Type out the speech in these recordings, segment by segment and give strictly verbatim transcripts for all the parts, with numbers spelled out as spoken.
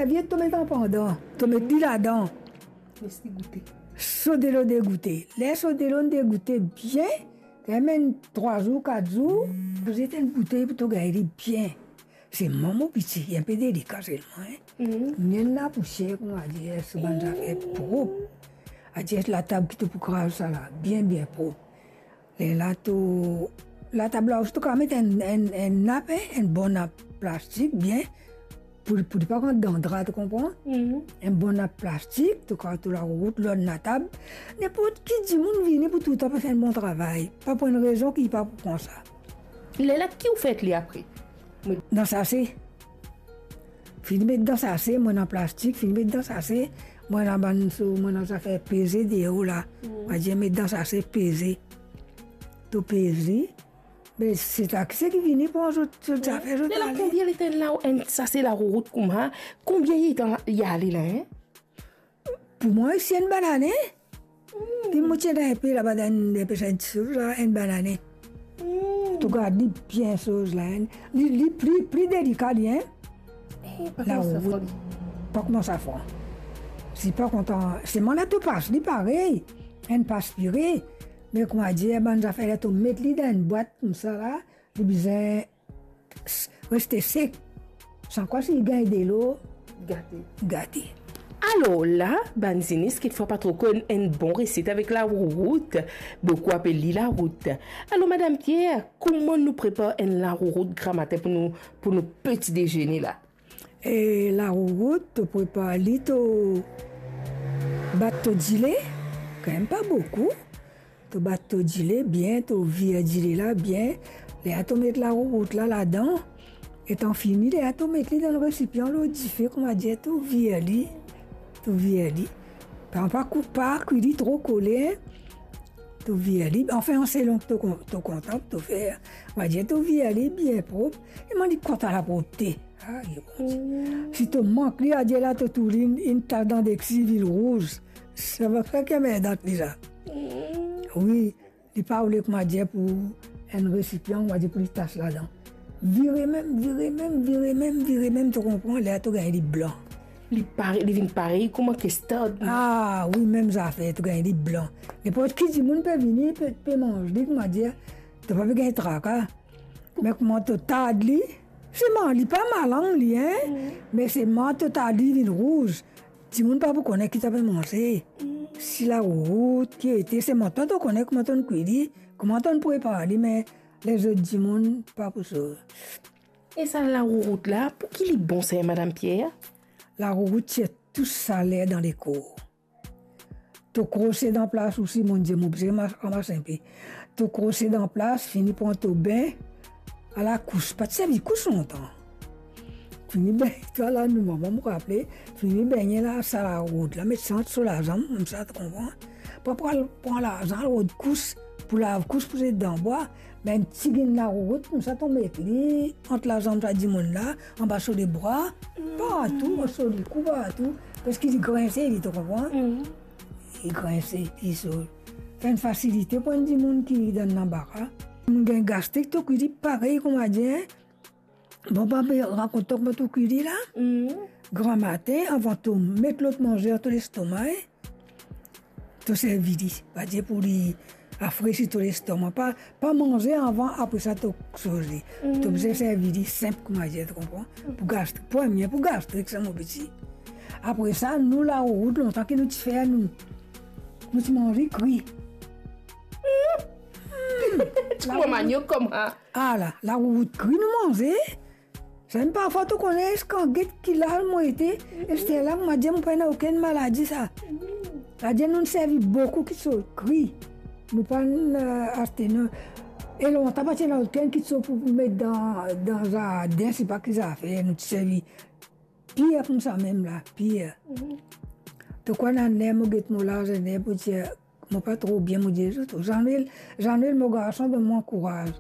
Serviet to met an pandan, to met li ladan. Les li goute. So delo degoute. Ler so delo degoute bien, kanmem enn trwa zour, kat zour, pou zet enn boutey pou to gagn li bien. Se mama piti, li inpe delika selman, hein. Mhm. Ni enn lapousier, kouma dir, so bann zafer prop. Adir latab ki to pou kraz sa la, bien, bien prop. Lerla to, latab la osi to kapav met enn, enn, enn nap, hein, enn bon nap plastik, bien, pou, pou li pa rant dan dra, to konpran? Mhm. Enn bon nap plastik, to kapav to larourout lor enn latab. Ninport ki dimoun vini pou toultan pe fer enn bon travay. Pa pou enn rezon ki li pa pou pran sa. Lerla ki ou fer li apre? Dan sase. Fini met dan sase, mo ena plastik, fini met dan sase, mo ena bann so, mo ena zafer peze deor la. Mm. Mo dir met dan sase, peze. To peze, be se taxi ki vini pran zot, zot zafer, zot ale. Lerla konbien letan la, enn sase larourout kouma, konbien letan li ale la, hein? Pou mwa, si enn banane, ki mo ti ena inpe laba dan enn, inpe sa enn ti soz la, enn banane. Mm. To gard li bien soz la, hein. Li, li pli, pli delika li, hein. Eh, pa kouma safran. Larout, pa kouma safran. Si pa kontan, selman la to pas li parey, enn pas pire. Me kouma dir, bann zafer la to met li dan enn bwat koumsa la, li bizin reste sek. San kwa si li gagn delo, gate. Gate. Alor la, bann zenes, kekfwa pa tro konn enn bon reset avek larourout. Boukou apel li larout. Alor, Madam Pierre, kouma nou prepar enn larourout gramatin pou nou, pou nou peti dezene la? E larourout, to prepar li, to bat to dile, kanmem pa boukou. To bat to dile bien, to vir dile la bien. Lerla to met larourout la ladan. Letan fini, lerla to met li dan resipian lor dife, kouma dir to vir li. To vir li. Pa, pa kou-, pa kwi li tro kole, hein. To vir li. Anfin, selon to kon-, to kontan, to fer. Kouma dir to vir li bien prop. E mo, li kontan lapropte. Ayo, Bondie. Mm. Si to mank li, adir la to touy li, inn, inn tas dan deksi, vinn rouz. Sa va fer ki anmerdan li sa. Mm. Wi, li pa oule, kouma dir, pou enn resipian, kouma dir, pou li tas ladan. Vire mem, vire mem, vire mem, vire mem, to konpran, lerla to gagn li blan. Li pare-, li vinn parey kouma kestard. Ah, wi, mem zafer, to gagn li blan. Ninport ki dimoun pe vini, pe, pe manz li, kouma dir, to pa pe gagn traka. Me kouma to tard li, selman li pa malang li, hein? Mm. Me selman to tard li vinn rouz, dimoun pa pou kone ki to pe manze. Mm. Si larourout, ki ete, selman twa to kone kouma to'nn kwi li, kouma to'nn prepar li, me lezot dimoun pa pou sov. E sa larourout la, pou ki li bon sa, Madam Pierre? Larourout tir tou saler dan lekor. To krose dan plas osi, mo dir, mo bizin ma-, ramas inpe. To krose dan plas, fini pran to bin, ala kous, pa ti servi kous lontan. Fini bengn twa la, nou mama, mo raple, fini bengne la, sa larout la, met sa ant so lazanm, koumsa, to konpran? Pa pran, pran lazanm, rod kous, pou lav kous, pou zet dan bwa, me enn tigit larout, koumsa, to met li ant lazanm sa dimoun la, anba so lebra, partou, so likou, partou. Paski li grinse, li, to konpran? Mm. Li grinse, li so. Fer enn fasilite pou enn dimoun ki dan lanbara. Dimoun gagn gastrik, to kwi li parey, kouma dir, hein? Bon, pa pe rakont twa kouma to kwi li la. Mm. Gramatin, avan to met lot manze dan to lestoma, hein? To servi li, pa dir pou li rafresi to lestoma. Pa, pa manze avan, apre sa to soz li. Mm. To bizin servi li sinp, kouma dir, to konpran? Pou gastrik, premie pou gastrik sa, mo piti. Apre sa, nou larout, lontan ki nou ti fer, nou, nou ti manze kwi. Mm. Ti kouma maniok kouma. Ala, larout kwi nou manze. Samem parfwa to kone, eski get ki laz mo ete, esterla mo dir mo pa ena okenn maladi sa. Savedir nou servi boukou kitsoz kri. Nou pa, eh, aste, non. E lontan pa ti ena okenn kitsoz pou, pou met dan, dan zardin, sepa ki zafer, nou ti servi pir koumsa mem la, pir. Mhm. To krwar ena ler mo get mo laz, ena ler pou dir, mo pa tro bien, mo dir zot, Zanwil, Zanwil, mo garson, donn mwa kouraz.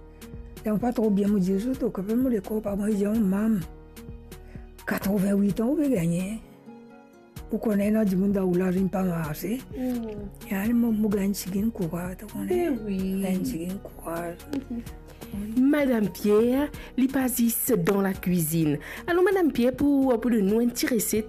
Ler mo pa tro bien, mo dir zot, okipe mo lekor pa mwa, li dir, "Oh, mam, katrovin-wit an ou pe gagne. Ou kone ena dimoun dan ou laz inn pa marse." Hmm. E ale, mo, mo gagn tigit kouraz, to kone? Eh wi. Gagn tigit kouraz. Mhm. Madam Pierre, li pa zis dan lakwizinn. Alor, Madam Pierre, pou, pou donn nou enn ti reset,